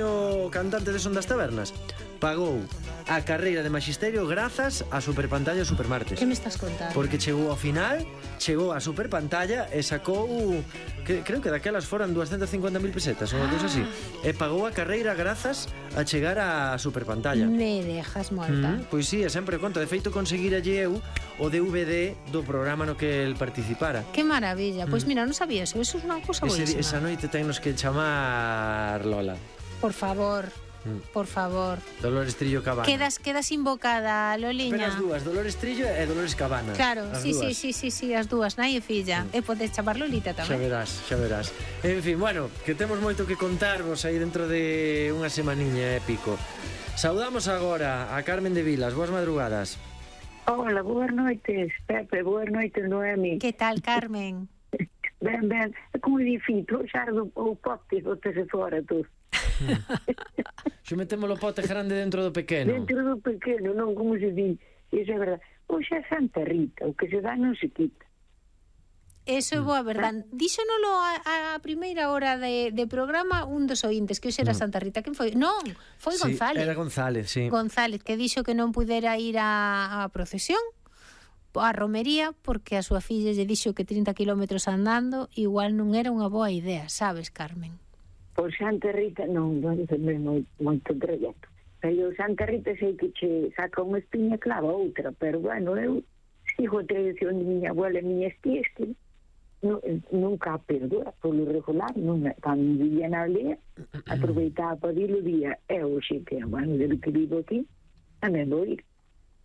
o cantante de Son das Tabernas pagou a carreira de maxisterio grazas a Superpantalla e Supermartes. Que me estás contando? Porque chegou ao final, chegou a Superpantalla e sacou, creo que daquelas foran 250.000 pesetas ou algo así. E pagou a carreira grazas a chegar a Superpantalla. Me dejas morta. Pois sí, é sempre conto. De feito, conseguiralle eu o DVD do programa no que el participara. Que maravilla. Pois mira, non sabía eso. Eso é unha cousa boísima. Esa noite tennos que chamar Lola. Por favor. Por favor. Dolores Trillo Cabana. Quedas invocada, Loliña. Pero as dúas, Dolores Trillo e Dolores Cabana. Claro, sí, as dúas, nai e filla. E podes chamar Lolita tamén. Xa verás. En fin, bueno, que temos moito que contarvos aí dentro de unha semaniña e pico. Saudamos agora a Carmen de Vilas. Boas madrugadas. Hola, boas noites, Pepe, boas noites, Noemi. Que tal, Carmen? Ben, é como difícil, xa o pote botase fora tú. Xo metemos o pote grande dentro do pequeno. Dentro do pequeno, non, como se di. Iso é verdade. Oxe é Santa Rita, o que se dá non se quita. Eso é boa verdade. Díxonolo a primeira hora de programa un dos ointes, que hoxe era Santa Rita. Quen foi? Non, foi González. Era González, sí. González, que dixo que non pudera ir a procesión, a romería, porque a súa filla lle dixo que 30 kilómetros andando igual non era unha boa idea, sabes, Carmen? Por Santa Rita non é moito trajeto. Pero Santa Rita sei que che saca unha espiña clava outra, pero bueno, eu sigo a tradición de miña abuela e miñas tías que nunca a perdura polo regular, cando vivía na aldea aproveitaba para ir o día e hoxe que, bueno, desde que vivo aquí tamén vou ir.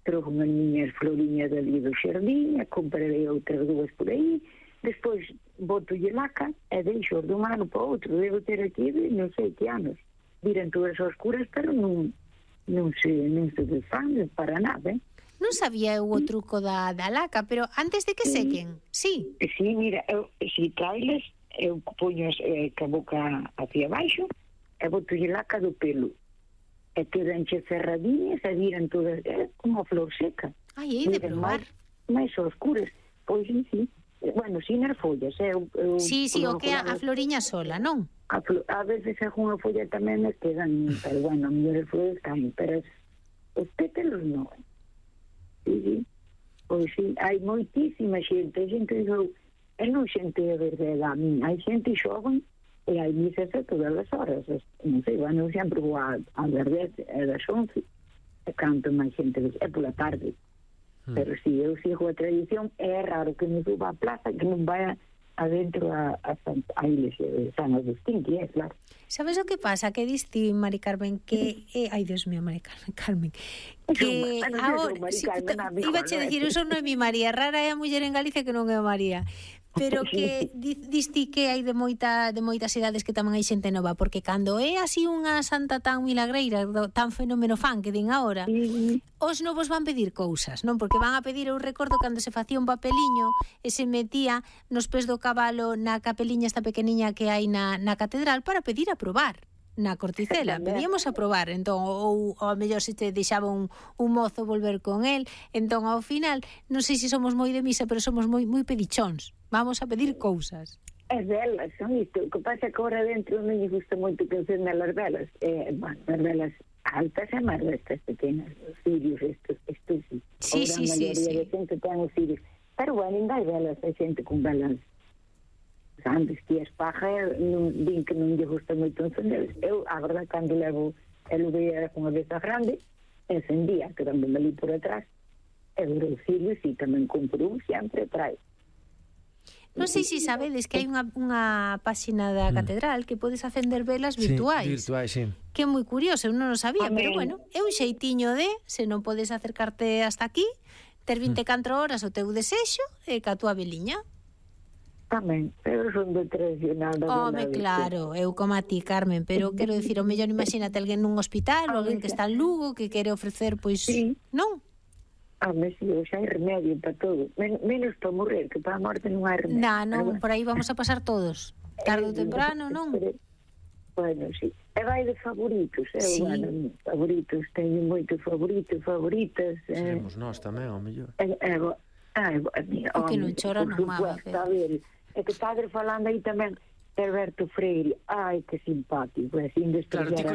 Trouxe unhas miñas floriñas ali do xardín, comprarei outras dúas por aí. Despois botolle laca e deixo de un ano para outro. Devo ter aquí non sei que anos. Viran todas as curas, pero non se desfan para nada, Non sabía eu o truco da laca, pero antes de que sequen, sí. Sí, mira, se trailes, eu poño a boca hacia baixo e botolle laca do pelo. E quedanche cerradiñas e viran todas, como a flor seca. Ai, hei de probar. Mais oscuras, pois sí. Bueno, sin as follas, Sí, o que a floriña sola, non? A veces algunha folla tamén me quedan, pero bueno, a mellor as flores caen, pero os pétalos non. Sí. Pois sí, hai moitísima xente, non xente de verdade a min, hai xente xoven e hai misas a todas as horas, non sei, bueno, sempre vou a verdade, a das 11, e canto máis xente, é pola tarde. Pero si eu sigo a tradición, é raro que me suba a plaza, que non vaya adentro a iglesia de San Agustín, que é claro. Sabes o que pasa? Que diste, Mari Carmen, que... ai, Dios mío, Mari Carmen, que agora... Iba a decir, eu son Noemi María, rara é a muller en Galicia que non é María. Pero que diste que hai de moitas idades que tamén hai xente nova, porque cando é así unha santa tan milagreira, tan fenómeno fan que din agora, os novos van pedir cousas, non? Porque van a pedir, eu recordo cando se facía un papeliño e se metía nos pés do cabalo na capeliña esta pequeniña que hai na catedral para pedir a probar na Corticela, pedíamos a probar, entón, ou a mellor se te deixaba un mozo volver con el, entón ao final non sei se somos moi de misa, pero somos moi pedichóns, vamos a pedir cousas. É velas, son isto, o que pasa que agora dentro non me gusta moito que encenda as velas, bueno, as velas altas e máis estas pequenas, os cirios estos sí. Sí. A maioría de xente ten os cirios, pero bueno, ainda hai velas, hai xente con velas antes que as pajas din que non lle gusta moito encender. Eu, a verdade, cando levo el veía con a veza grande, encendía, quedándome ali por atrás, e o cirio, si tamén compro sempre trae. Non sei se sabedes que hai unha páxina da catedral que podes acender velas virtuais. Sí, virtuais, sí. Que é moi curioso, eu non o sabía, pero bueno, é un xeitiño de, se non podes acercarte hasta aquí, ter 24 horas o teu desexo e ca túa veliña. Tamén, pero son de tradicional da Home, claro, eu como a ti, Carmen, pero quero dicir, o mellor imagínate alguén nun hospital ou alguén que está en Lugo que quere ofrecer, pois, non? Home, si, xa hai remedio para todo, menos para morrer, que para a morte non hai remedio. Non, por aí vamos a pasar todos, tarde ou temprano, non? Bueno, si, e vai de favoritos, bueno, favoritos, teño moitos favoritas. Seremos nós tamén, ao mellor. O que non chora non mama. A ver, é que padre falando aí tamén, Alberto Freire, ai, que simpático, sin despreciar a nada.